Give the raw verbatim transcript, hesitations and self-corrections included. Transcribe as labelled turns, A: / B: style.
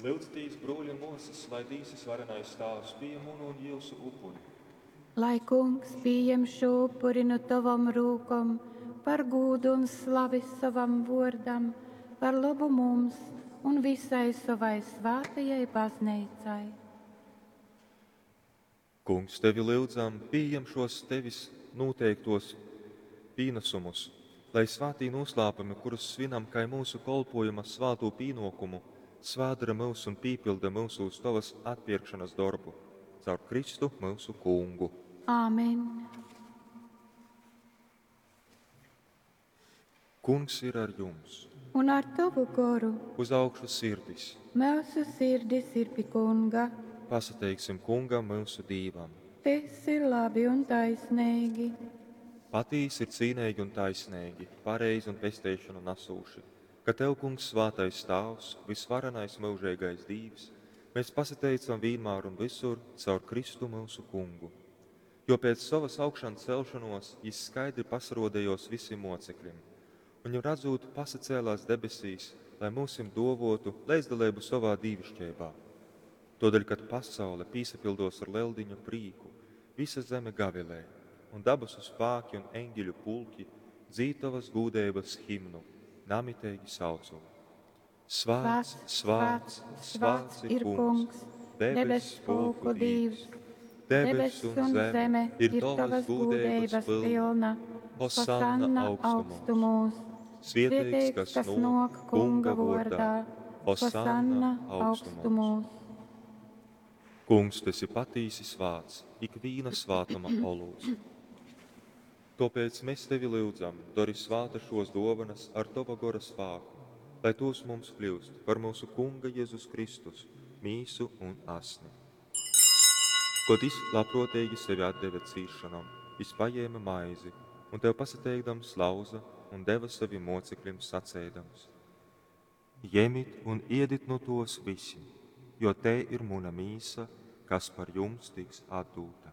A: Lyudzitīs, brōļi un mōsas, lai Dīvs Vysvarenais Tāvs pījem munu un jyusu upuri.
B: Lai Kungs pījem šū upuri nu tovom rūkom par gūdu un slavi sovam vōrdam, par lobu mums un vysai sovai svātajai Bazneicai.
A: Kungs, tevi lyudzam, pījem šos tevis nūteiktos pīnasumus, lai svātī nūslāpumi, kurus svinam kai myusu kolpōjuma svātū pīnōkumu, svētdora myus un pīpylda myusūs tovas atpērkšonas dorbu. Caur Kristu myusu Kungu.
B: Āmen.
A: Kungs ir ar jums.
B: Un ar tovu goru.
A: Uz augšu sirdis.
B: Myusu sirdis ir pi Kunga.
A: Pasateiksim Kungam, myusu Dīvam.
B: Tys ir labi un taisneigi.
A: Patīsi ir cīneigi un taisneigi, pareizi un pesteišonu nasūši, ka tev, Kungs, svātais Tāvs, vysvarenais myužeigais Dīvs, mēs pasateicam vīnmār un vysur caur Kristu myusu Kungu. Jo pēc sovas augšancelšanos jis skaidri pasaruodejos vysim mocekļim, un viņu radzūt pasacēlās debesīs, lai myusim duovuotu leidzdaleibu sovā dīviškeibā. Tuodeļ, kad pasaule pīsapyldos ar Leldiņu prīku, vysa zeme gavilē, un dabasu spāki un eņģeļu pulki dzīd tovas gūdeibas himnu, namiteigi saucot: Svāts, svāts, svāts ir Kungs, debess pulku Dīvs. Debess un zeme ir tovas gūdeibas pylna. Hosanna augstumos. Svieteigs, kas nōk Kunga vōrdā. Hosanna augstumos. Kungs, tu esi patīsi svāts, ikvīna svātuma olūts. Tōpēc mēs tevi lyudzam, dori svāta šos dōvanas ar tova gora spāku, lai tos mums kļūst par mūsu Kunga Jēzus Kristus, mīsu un asni. Kod jis labprōteigi sevi atdeve cīsšonom, jis pajēme maizi un tev pasateikdams lauza un deva savim mocekļim saceidams: Jemit un iedit nu tos visi, jo tei ir muna mīsa, kas par jums tiks atdūta.